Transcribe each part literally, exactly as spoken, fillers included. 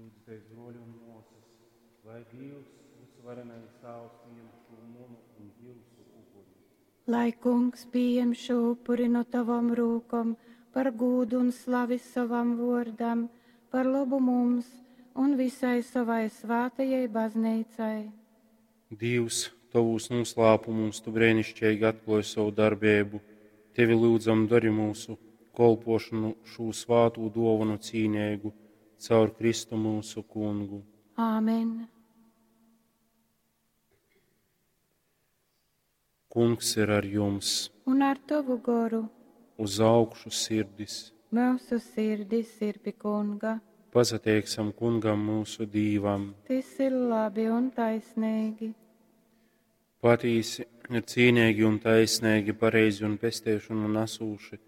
Lūdzuties, bruoļi un muosys, lai Dīvs, vysvarenais Tāvs, pījem šū munu un jiusu upuri. Lai Kungs pījem šū upuri no tavom rūkom par gūdu un slavi sovam vuordam, par lobu mums un visai sovai svātajai bazneicai. Dīvs, tovūs nūslāpumūs tu breiniškeigi atkluoj sovu darbeibu. Tevi lyudzam, dori myusu kolpuošonu šū svātū duovonu cīneigu caur Kristu myusu Kungu. Āmen. Kungs ir ar jums. Un ar tovu goru. Uz augšu sirdis. Myusu sirdis ir pi Kunga. Pasateiksim Kungam myusu Dīvam. Tys ir labi un taisneigi. Patīsi ir cīneigi un taisneigi, pareizi un pesteišonu nasūši,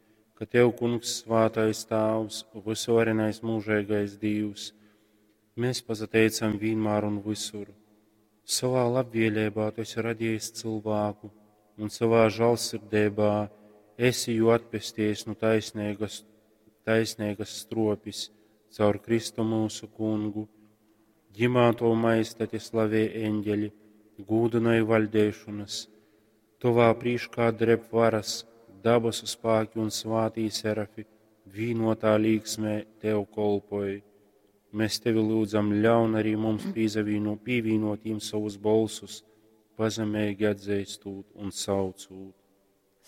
ka Tev, Kungs, svātais Tāvs, vysuvarenais mūžeigais Dīvs, mēs pasateicam vienmēr un visur. Savā labvēlībā Tu esi radījis cilvēku un savā žēlsirdībā esi jū atpestījis no taisnīgas, taisnīgas stropis caur Kristu mūsu Kungu. Ģimā Tavu majestati slavē eņģeļi, gūdināja vaļdēšanas, Tavā prīškā dreb varas, dabasu spēki un svātī serafi, vīnotā līksmē Tev kolpoj. Mēs Tevi lūdzam, ļaun arī mums pīzavīno, pīvīnot jim savus bolsus, pazemīgi atzīstot un saucot.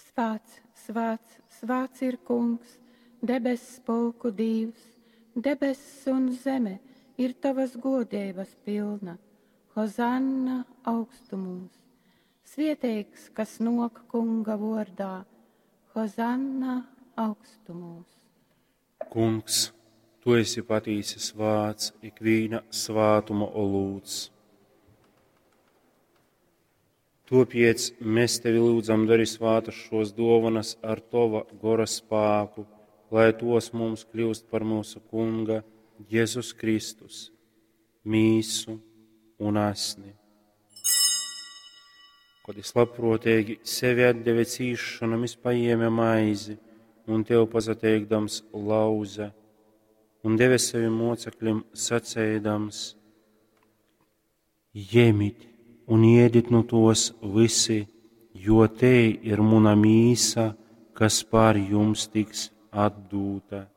Svāts, svāts, svāts ir Kungs, debess pulku Dīvs, debess un zeme ir tavas godības pilna. Hozanna augstumūs. Svieteigs, kas nok Kunga vordā. Hozanna augstumūs. Kungs, Tu esi patīsi svāts, ikvīna svātuma olūts. Topiec mēs Tevi lūdzam, dari svātas šos dovanas ar Tova gora spāku, lai tos mums kļūst par mūsu Kunga Jēzus Kristus, mīsu un asni. Kad es labprātīgi sevi atdeve cīšanam, es paņēma maizi un Tev pasateikdams lauza un deve saviem mocekļiem sacēdams: Ņemit un ēdit no tos visi, jo te ir muna mīsa, kas pār jums tiks atdūta.